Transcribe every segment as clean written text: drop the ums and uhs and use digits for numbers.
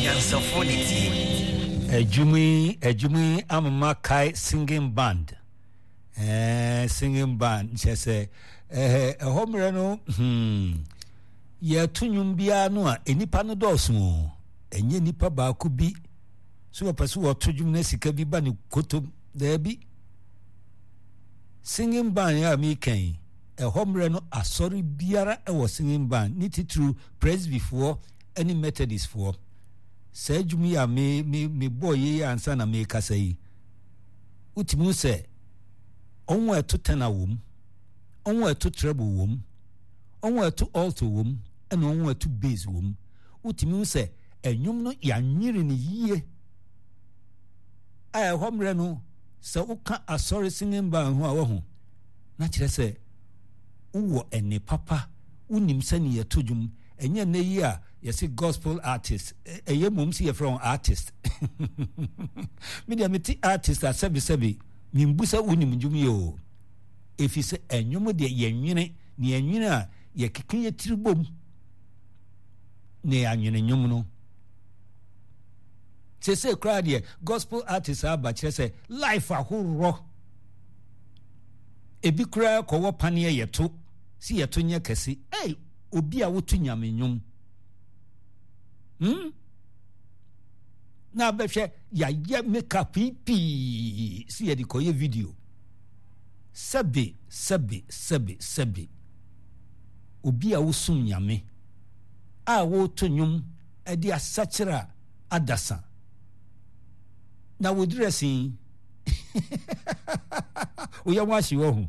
Anyansafoɔ na ɛtie. Adwuma yi adwuma yi amema kae singing band eh, singing band kyerɛ sɛ eh, ɛhɔ mmerɛ no hmm, yɛto nnwom biara no a nnipa no dɔɔso o ɛnyɛ nnipa baako bi so wɔpɛ so wɔto dwom na sika bi ba ne kotom daabi singing band a meka yi ɛhɔ mmerɛ no asɔre biara ɛwɔ singing band ne titiriw presbyfoɔ ne methodistfoɔ saa adwuma yi a me me mebɔɔ yei ansa na mekasa yi wotumi hu sɛ ɔho a ɛto tɛna wɔ mu ɔho a ɛto treble wɔ mu ɔho a ɛto alto wɔ mu ɛna ɔho a ɛto bass wɔ mu wotumi hu sɛ ɛnwom no yɛanwere no yie a ɛhɔ mmerɛ no sɛ woka asɔre singing band ho a wahu na kyerɛ sɛ wowɔ ɛne papa wonim sɛne yɛto dwom ɛnyɛ nnɛ yi a yɛse gospel artist ɛyɛ mmom sɛ yɛfrɛ wɔn artist me deɛ mete artist a sɛbesɛbe membu sɛ wonim dwom yɛ o ɛfiri sɛ ɛnwom deɛ yɛnwene ne yɛnwene a yɛkeka yɛ tiri bom na yɛanwene nwom no sese koraa deɛ gospel artist aba kyerɛ sɛ life ahorɔ ebi koraa kɔwɔ paneɛ yɛto si yɛto nyɛ kɛse ei obi a woto nyame nnwom hmm na abɛhwɛ yɛayɛ makeup yi pii si yɛde kɔyɛ video sɛbe sɛbe sɛbe sɛbe obi a wosom nyame a woto nnwom de asakyera adasa na wo dressing woyɛ ho ahye wɔ ho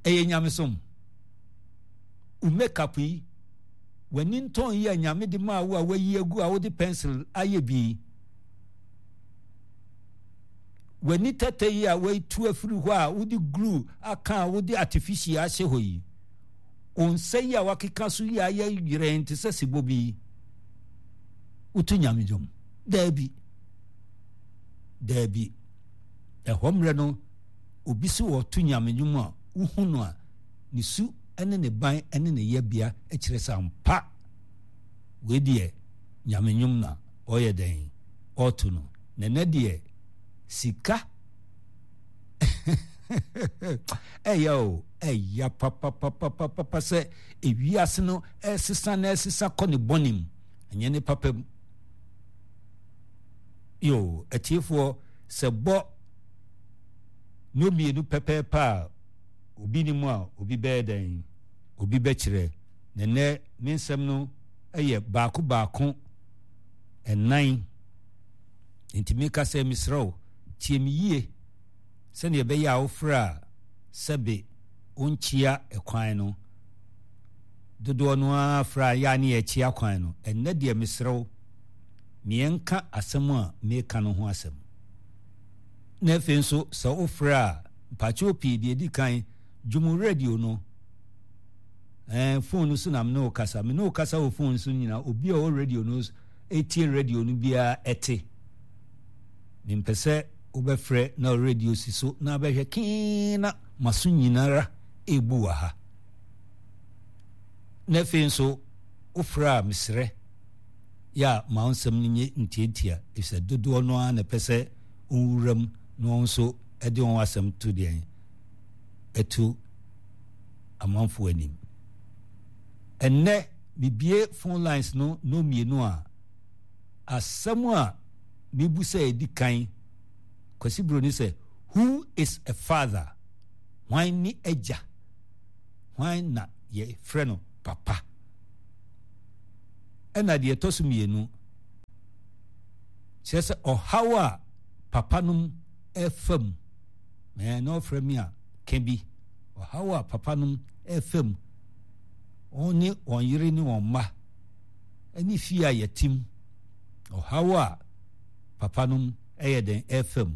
ɛyɛ nyamesom Wo makeup yi, w'ani ntɔn yi a Nyame de maa wo a wayi agu a wode pencil ayɛ bi yi, w'ani tɛtɛ yi a watu afiri hɔ a wode glue aka a wode artificial ahyɛ hɔ yi, wo nsa yi a wakeka so yi a ayɛ yerɛn te sɛ sebɔ bi yi, woto Nyame dwom? Daabi. Daabi. Ɛhɔ mmerɛ no, obi so ɔto Nyame dwom a, wohu no a, ne su ne ne ban ne ne yɛbea kyerɛ sɛ ampa wei deɛ nyame nnwom na ɔyɛ dɛn ɔto no na ɛnɛ deɛ sika ɛyɛ o ɛya papapapapapa sɛ ewiase no ɛsesa na ɛsesa kɔ ne bɔne mu ɛnyɛ ne papa mu yo atiefoɔ sɛ bɔ no mmienu pɛpɛɛpɛ a Obi nim a, obi bɛyɛ dɛn? Obi bɛkyerɛ. Na nnɛ me nsɛm no yɛ baako baako nnan. Enti meka sɛ mesrɛ wo, tie me yie sɛdeɛ ɛbɛyɛ a wofrɛ a sɛbe wonkyea kwan no. Dodoɔ no ara frɛ a yɛ a ne yɛkyea kwan no. Ɛnnɛ deɛ mesrɛ wo, meɛnka asɛm a meka no ho asɛm. Na afei nso sɛ wofrɛ a, mpakyɛw pii deɛ ɛdi kan, dwom radio no. Ɛɛ phone no so na me ne wo kasa. Me ne wo kasa wɔ phone so nyinaa, obi a ɔwɔ radio no etie radio no biara ɛte. Mempɛ sɛ wobɛfrɛ na radio si so na abɛhwɛ kee na maso nyinara ebu wɔ ha. Na afei nso wofrɛ a mesrɛ yɛ a ma wo nsɛm no nyɛ ntiantia efisɛ dodoɔ no ara na ɛpɛ sɛ wɔwura mu na wɔn nso de wɔn asɛm to deɛn ɛto amanfoɔ anim. Ɛnnɛ mebie phone lines no no mmienu a asɛm a mebu sɛ ɛdi kan Kwasi Broni sɛ who is a father? Hwan ne agya? Hwan na yɛfrɛ no papa? Ɛna deɛ ɛtɔ so mmienu kyerɛ sɛ ɔhaw a papanom ɛfa mu ɛɛ na ɔfrɛ me a ka bi ɔhaw a papanom ɛfa mu wɔn ne wɔn yere ne wɔn mma ɛne fie a yɛtim ɔhaw a papanom ɛyɛ dɛn ɛfa mu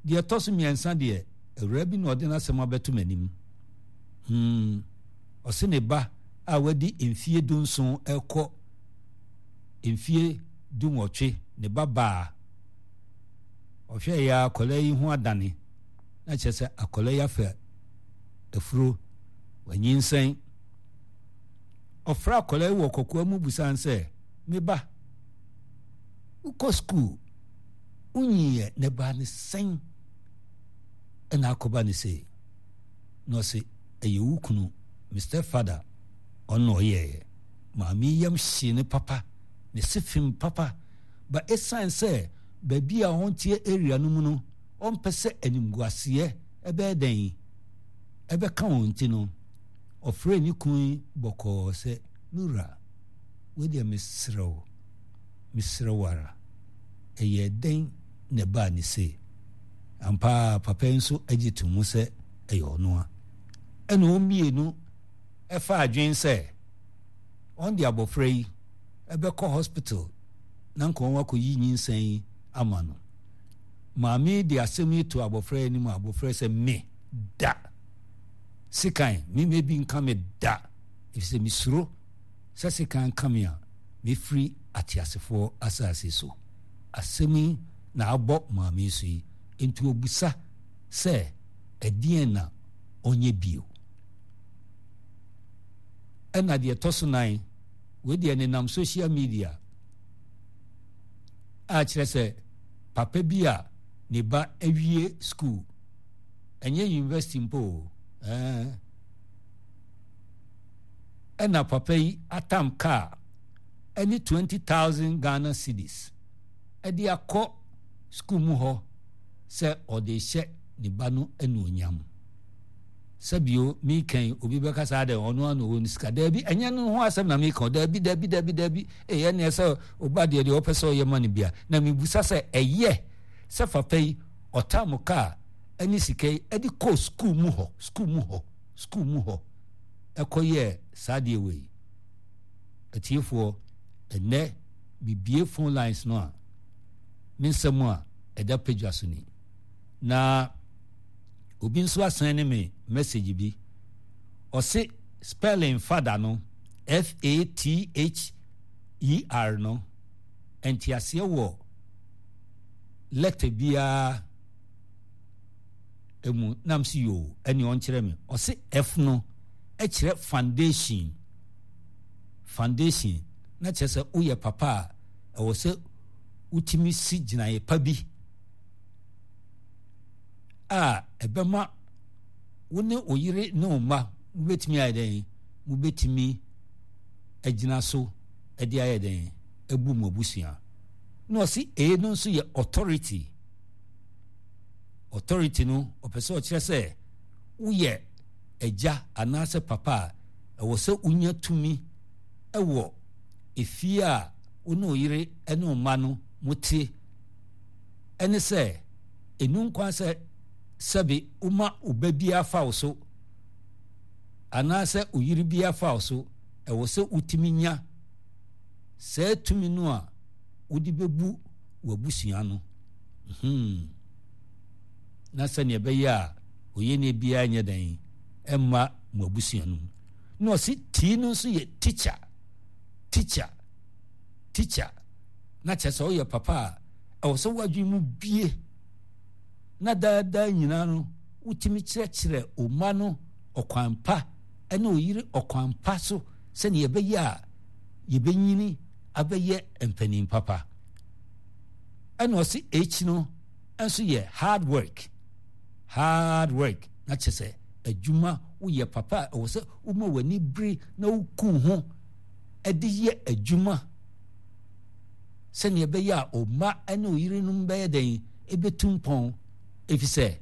deɛ ɛtɔ so mmiɛnsa deɛ awura bi na ɔde n'asɛm abɛto m'anim hmm ɔse ne ba a wadi mfie dunson ɛkɔ mfie dunwɔtwe, ne ba baa. Ɔhwɛɛ yɛ akwadaa yi ho adane, na kyerɛ sɛ akwadaa yi afa afuro, wanyinsɛn. Ɔfrɛ akwadaa yi wɔ kɔkoa mu busa no sɛ, me ba, Wokɔ sukuu, wonyiiɛ na ɛbaa ne sɛn ɛna akɔba ne sei? Na ɔse, ɛyɛ wo kunu, me stepfather, ɔno na ɔyɛeɛ. Maame yi yam hyee no papa, ne se fem papa, but ɛsiane sɛ baabi a ɔnteɛ area no mu no, ɔmpɛ sɛ animguaseɛ ɛbɛyɛ dɛn ɛbɛka wɔn nti no, ɔfrɛɛ ne kunu yi bɔkɔɔ sɛ, Me wura, wei deɛ mesrɛ wo, mesrɛ wo ara, ɛyɛɛ dɛn na ɛbaa ne sei? Ampa ara papa yi nso gye to mu sɛ ɛyɛ ɔno a. Ɛna wɔn mmienu faa adwene sɛ wɔn de abɔfra yi bɛkɔ hospital na nka wɔn akɔyi nyinsɛn yi ama no. Maame yi de asɛm yi to abɔfra yi anim a abɔfra yi sɛ me da sekan me mɛ bi nka me da efisɛ mesuro sɛ sekan ka me a mefiri ateasefoɔ asase so. Asɛm yi na abɔ maame yi so yi nti ɔbisa sɛ ɛdeɛn na ɔnyɛ bio. Ɛna deɛ ɛtɔ so nan, wei deɛ nenam social media a kyerɛ sɛ papa bi a ne ba awie school, ɛnyɛ university mpo o, ɛɛ, ɛna papa yi atam kaa ɛne 20,000 Ghana cedis ɛde akɔ school mu hɔ sɛ ɔde rehyɛ ne ba no anuonyam. Sɛbio meka yi obi bɛka saa dɛ ɔno ano ɔwɔ ne sika. Daabi, ɛnyɛ no ho asɛm na meka o. Daabi, daabi, daabi, daabi. Ee, ɛneɛ sɛ ɔba deɛ deɛ ɔpɛ sɛ ɔyɛ ma no bia. Na mebusa sɛ ɛyɛ sɛ papa yi ɔtam kaa ɛne sika yi ɛde kɔɔ sukuu mu hɔ, sukuu mu hɔ, sukuu mu hɔ ɛkɔyɛɛ saa deɛ wei. Atiefoɔ, ɛnɛ mebie phone lines no a, me nsɛm a ɛda padwa so ni. Na obi nso asɛn ne me message bi. Ɔse spelling fada no, F-A-T-H-E-R no, nteaseɛ wɔ letter biara mu. Na mse yoo, ɛne ɔnkyerɛ me. Ɔse F no kyerɛ foundation. Foundation, na kyerɛ sɛ woyɛ papa a, ɛwɔ sɛ wotumi si gyinaeɛ pa bi a ɛbɛma wo ne wo yere ne wo mma mobɛtumi ayɛ dɛn? Mobɛtumi agyina so de ayɛ dɛn? Abu mo abusua. Na ɔse A no nso yɛ authority. Authority no, ɔpɛ sɛ ɔkyerɛ sɛ woyɛ agya anaasɛ papa a, ɛwɔ sɛ wonya tumi wɔ efie a wo ne wo yere ne wo mma no mote. Ɛne sɛ, ɛnu nkwan sɛ sɛbe woma wo ba biara fa wo so anaasɛ wo yere biara fa wo so, ɛwɔ sɛ wotumi nya saa tumi no a wode bɛbu w'abusua no. Hmm. Na sɛnea ɛbɛyɛ a oyɛne biara nyɛ dɛn ɛmma mo abusua no mu. Na ɔse tii no nso yɛ teacher, teacher, teacher. Na kyerɛ sɛ woyɛ papa a, ɛwɔ sɛ w'adwene mu bie na daa daa nyinaa no wotumi kyerɛkyerɛ wo mma no ɔkwan pa ne wo yere ɔkwan pa so sɛnea ɛbɛyɛ a yɛbɛnyini abɛyɛ mpanin papa. Ɛna ɔse H no nso yɛ hard work, hard work na kyerɛ sɛ adwuma woyɛ papa a ɛwɔ sɛ woma w'ani bere na woku ho de yɛ adwuma sɛnea ɛbɛyɛ a wo mma ne wo yerenom bɛyɛ dɛn ɛbɛtu mpɔn efisɛ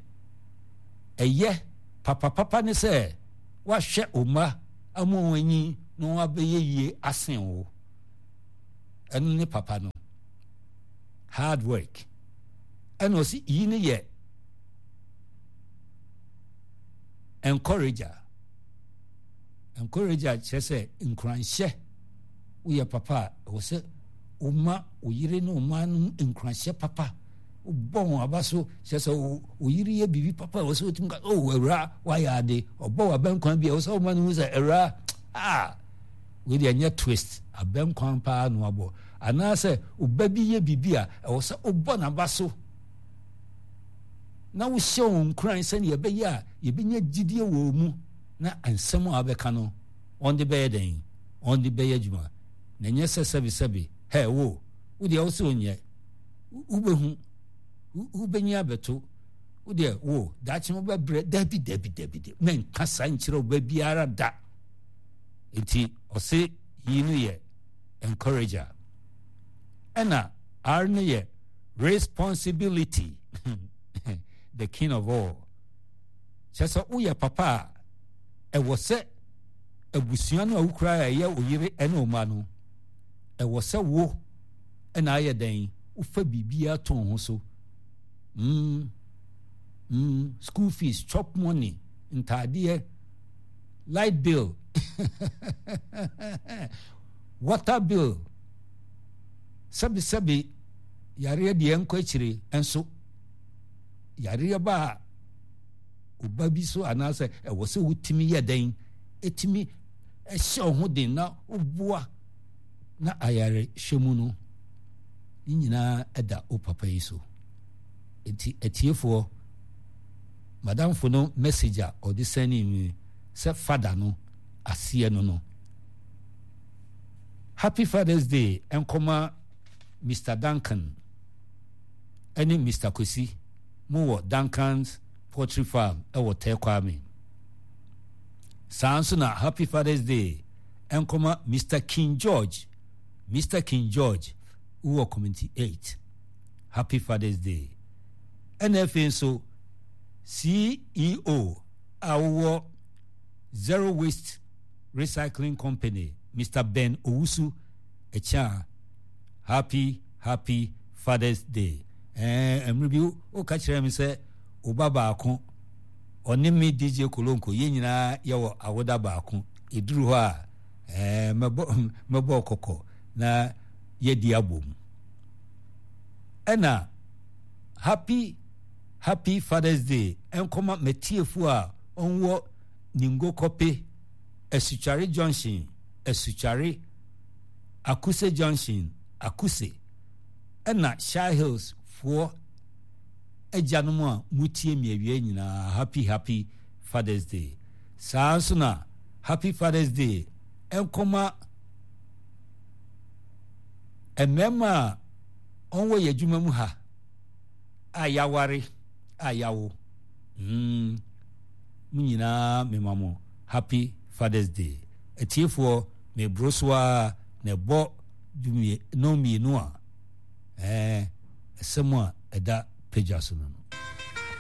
ɛyɛ papapapa ne sɛ woahwɛ wo mma ama wɔn anyi na wɔn abɛyɛ yie asen wo. Ɛno ne papa no hard work. Ɛna ɔsi yi ne yɛ encourager. Encourager kyerɛ sɛ nkuranhyɛ. Woyɛ papa a, ɛwɔ sɛ woma wo yere ne wo mma no nkuranhyɛ papa. Wobɔ wɔn aba so, kyerɛ sɛ wo yere yɛ biribi papa a ɛwɔ sɛ wotumi ka, oh awura, woayɛ ade. Ɔbɔ w'abɛnkwan bi a, ɛwɔ sɛ woma no hu sɛ awura, ah, wei deɛ ɛnyɛ twist, abɛnkwan paa na wabɔ. Anaasɛ wo ba bi yɛ biribi a, ɛwɔ sɛ wobɔ n'aba so na wohyɛ wɔn nkuran sɛnea ɛbɛyɛ a yɛbɛnya gyidie wɔ wɔn mu na nsɛm a wabɛka no wɔn de bɛyɛ dɛn? Wɔn de bɛyɛ adwuma. Na ɛnyɛ sɛ sɛbesɛbe, hɛ wo, wo deɛ wo se wonyɛ. Wobɛhu, wobɛnyi abɛto. Wo deɛ wo daakye wobɛbrɛ. Dabi dabi dabi dabi. Mɛnka saa nkyerɛ wo ba biara da. Nti ɔse yi no yɛ encourager. Ɛna R no yɛ responsibility. The king of all. Kyerɛ sɛ woyɛ papa a, ɛwɔ sɛ abusua no a wokura a ɛyɛ wo yere ne wo mma no, ɛwɔ sɛ wo na ayɛ dɛn wofa biribiara to ho so. Mm, mm, school fees, chop money, ntaadeɛ, light bill, water bill, sɛbesɛbe yareɛ deɛ nkɔ akyire nso yareɛ ba a ɔba bi so anaasɛ ɛwɔ sɛ wotumi yɛ dɛn ɛtumi ɛhyɛ wo ho den na woboa na ayarehwɛ mu no ne nyinaa ɛda wo papa yi so. Nti atiefoɔ, madamfo no message a ɔde sɛne mi sɛ fada no aseɛ no no. Happy Father's Day nkɔma Mr. Duncan ɛne Mr. Kwesi mo wɔ Duncan's Poultry Farm ɛwɔ Tɛ Kwame. Saa nso na Happy Father's Day nkɔma Mr. King George, Mr. King George wowɔ Community 8. Happy Father's Day. Ɛna afei nso CEO a wowɔ Zero Waste Recycling Company, Mr. Ben Owusu Ɛkyɛa, Happy Happy Father's Day. Ɛɛ mmerɛ bi woka kyerɛ me sɛ wo ba baako ɔne me DJ Kolonko yɛn nyinaa yɛwɔ awoda baako. Ɛduru hɔ a ɛɛ mɛbɔ mɛbɔ kɔkɔ na yɛadi abom. Ɛna Happy Happy Father's Day nkɔma m'atiefo a wɔwɔ Ningo Kɔpe, Asutsuare Junction, Asutsuare, Akuse Junction, Akuse, ɛna Shire Hills foɔ agyanom a motie me awia nyinaa Happy Happy Father's Day. Saa nso na Happy Father's Day nkɔma mmarima a wɔwɔ yɛn adwuma mu ha a yɛaware a yɛawo mm, mo nyinaa mema mo happy Father's Day. Atiefoɔ, meboro so ara na ɛbɔ dumie, nnɔn mmienu a, ɛɛ, ɛsɛm a ɛda pagya so no no.